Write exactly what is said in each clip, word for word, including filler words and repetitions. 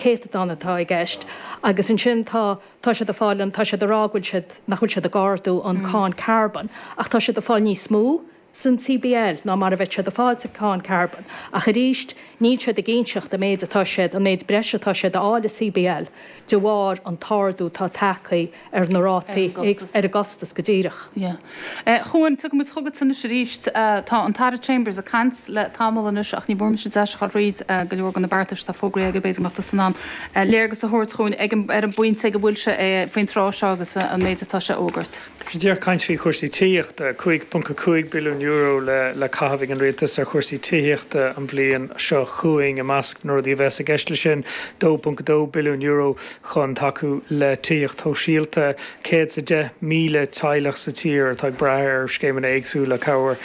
céatadán atá i gceist agus ansin tá tá siad ag fáil tá siad ag rá go bhfuil siad nach bhfuil siad ag ardú an mm. cáin carbon ach tá siad ag fáil níos mó san C B L ná mar a bheadh siad ag fáil sa cáin carbon. Ach arís níl siad ag inseacht an méid atá siad an méid breise atá siad a fháil i C B L de bharr an t-ardú atá tagtha ar na rátaí ar a gcostas go díreach. Chuan tugaimid chugat anois arís. Tá an tAire Chambers ag caint le tamall anois ach ní bhfuair mise deis a ríd go leor de na beartais atá fógraithe aige. B'fhéidir nach san an léargas a thabhairt dúinn ag ar an bpointe go bhfuil sé faoin tráth seo agus an méid atá sé fógairt. Díreach caint faoi chúrsaí tithíochta, cúig ponc cúig billiún euro le le caitheamh ag an rialtas ar chúrsaí tithíochta an bhliain seo chugainn. I measc na rudaí a bheas i gceist le sin, dó ponc dó billiún euro chun tacú le tithíocht shóisialta, céad sa deich míle teaghlach sa tír atá ag brath ar scéimeanna éagsúla cabhair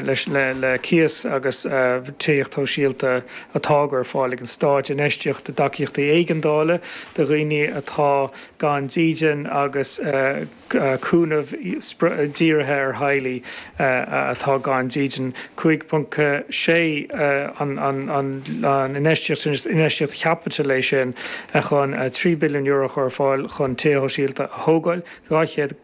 leis le le cíos agus uh, tithíocht shóisialta atá ar fáil ag an stát, infheistíocht i dtacaíochtaí éigeandála do dhaoine atá gan dídean agus uh, cúnamh dírithe ar theaghlaigh atá gan dídean, cúig ponc sé an infheistíocht chaipitil é sin chun trí billiún euro chur ar fáil chun tithe sóisialta a thógáil, dhá chéad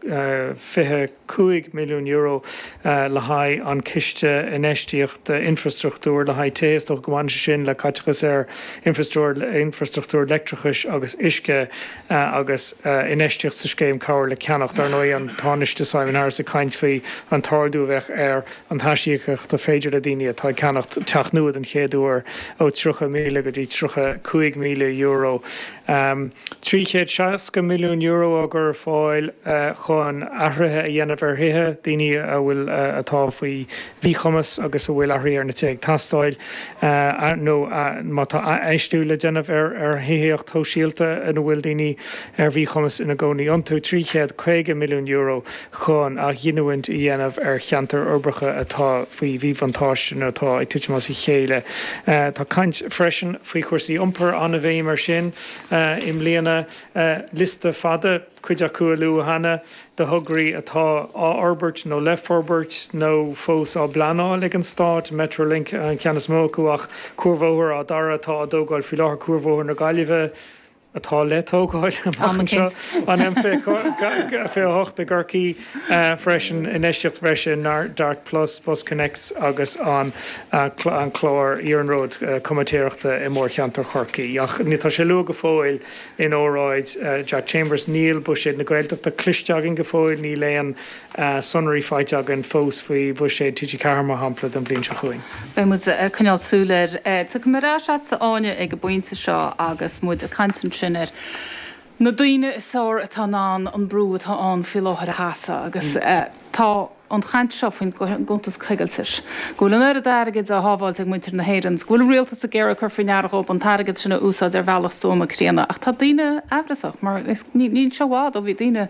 fiche cúig milliún euro le haghaidh an ciste infheistíocht infrastruchtúr le haghaidh tithe, go mbaineann sin le caiteachas ar infrastruchtúr leictreachais agus uisce agus infheistíocht sa scéim cabhair le ceannach. Dar ndóigh, an Tánaiste Simon Harris ag caint faoi an t-ardú a bheith ar an aisíocaíocht féidir le daoine atá ag ceannacht teach nua den chéad uair ó tríocha míle go dtí tríocha cúig míle euro. Um, trí chéad seasca milliún euro á gcur ar fáil uh, chun athruithe a dhéanamh ar thithe daoine a bhfuil uh, atá faoi mhíchumas agus a bhfuil athruithe ar na tithe ag teastáil uh, nó uh, má tá infheistiú le déanamh ar ar thithíocht shóisialta ina bhfuil daoine ar mhíchumas ina gcónaí iontu, trí chéad caoga milliún euro chun athghiniúint a dhéanamh ar cheantair uirbeacha atá faoi mhíbhuntáiste nó atá ag titim as a chéile. Uh, tá caint freisin faoi chúrsaí iompair, an-bhéim air sin uh, i mbliana, uh, liosta fada, cuid acu a luadh cheana, de thograí atá á fhorbairt nó le forbairt nó fós á bpleanáil ag an stát, Metrolink an ceann is mó acu, ach cuarbhóthar á dara atá á dtógáil faoi láthair, cuarbhóthar na Gaillimhe atá le tógáil an M fiche hocht i gCorcaigh freisin, infheistíocht freisin Dart Plus, Bus Connects agus an an clár iarnróid comaitéireachta i mórcheantar Chorcaí. Ach ní tá sé luaite go fóill in óráid Jack Chambers. Níl buiséad na Gaeltachta cloiste againn go fóill, níl aon sonraí faighte againn fós faoi bhuiséad T G Ceathair mar shampla don bhliain seo chugainn. Beidh muid coinneáil súil air. Tá mar se áine ag an bpointe seo agus muid ag caint sin ar na daoine is fearr atá an an brú atá ann faoi láthair a sheasamh agus mm. tá an chaint seo faoin gcuntas coigiltis. Go bhfuil an oiread airgid á shábháil ag muintir na hÉireann, go bhfuil rialtas ag iarraidh cur faoi ndeara dhóibh an t-airgead sin a úsáid ar bhealach stuama críonna, ach tá daoine amhrasach mar níl sé i bhfad ó bhí daoine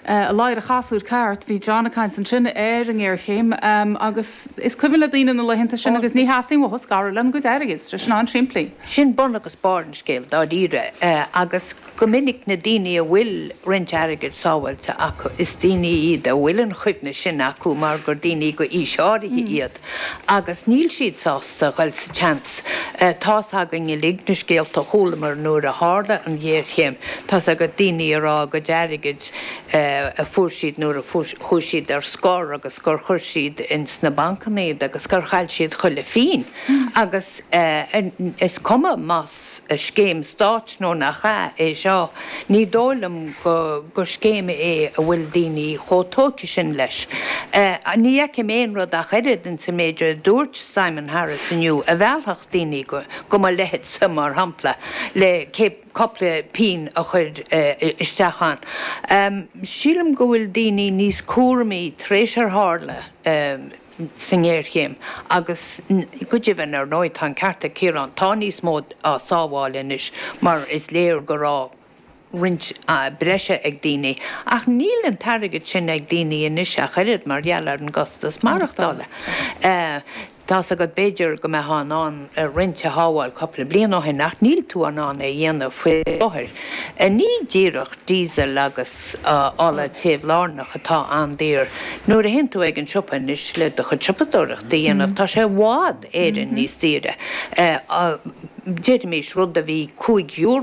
a ladhar a chasúr ceart. Bhí John ag caint ansin ar an ngéarchéim um, agus is cuimhin le daoine na laethanta sin agus ní theastaíonn uathu scaradh lena gcuid airgid, sin an-simplí. Sin bun agus barr an scéil dáiríre uh, agus go minic na daoine a bhfuil roinnt airgid sábháilte acu, is daoine iad a bhfuil an chuimhne sin acu mar gur daoine go aois áirithe mm. iad. Agus níl siad sásta dul sa tseans. uh, Tá againn uilig na scéalta a chualamar nuair a tharla an ghéarchéim, Tá go daoine ag rá go airgid uh, a fuair siad nuair a chuaigh siad ar scor agus gur chuir siad ins na bancanna agus gur chaill siad chuile phingin. Agus uh, is cuma más scéim stáit nó nach ea é seo, ní dóigh liom go gur scéim é a bhfuil daoine chomh tógtha sin leis. Uh, ní fheicim aon rud ach oiread in sa méid a dúirt Simon Harris inniu a mheallfadh daoine go, go mo leithéidse mar shampla le cúpla pingin a chur uh, isteach ann. Um, sílim go bhfuil daoine níos cúramaí tar éis ar tharla um, sa ngéarchéim agus go deimhin ar ndóigh tá an ceart ag Ciarán, tá níos mó á sábháil anois mar is léir go raibh roinnt uh, breise ag daoine, ach níl an t-airgead sin ag daoine anois ach oiread mar gheall ar an gcostas maireachtála. Uh, Tá go b'fhéidir go mbeifeá in ann roinnt a shábháil cúpla bliain ó shin, ach níl tú in ann é a dhéanamh faoi láthair. Ní díreach diesel agus ola téimh lárnach atá an-daor. Nuair a théann tú ag an siopa anois le do chuid siopadóireachta a dhéanamh, tá sé i bhfad Éireann níos daoire. Déarfaimis rud a bhí cúig euro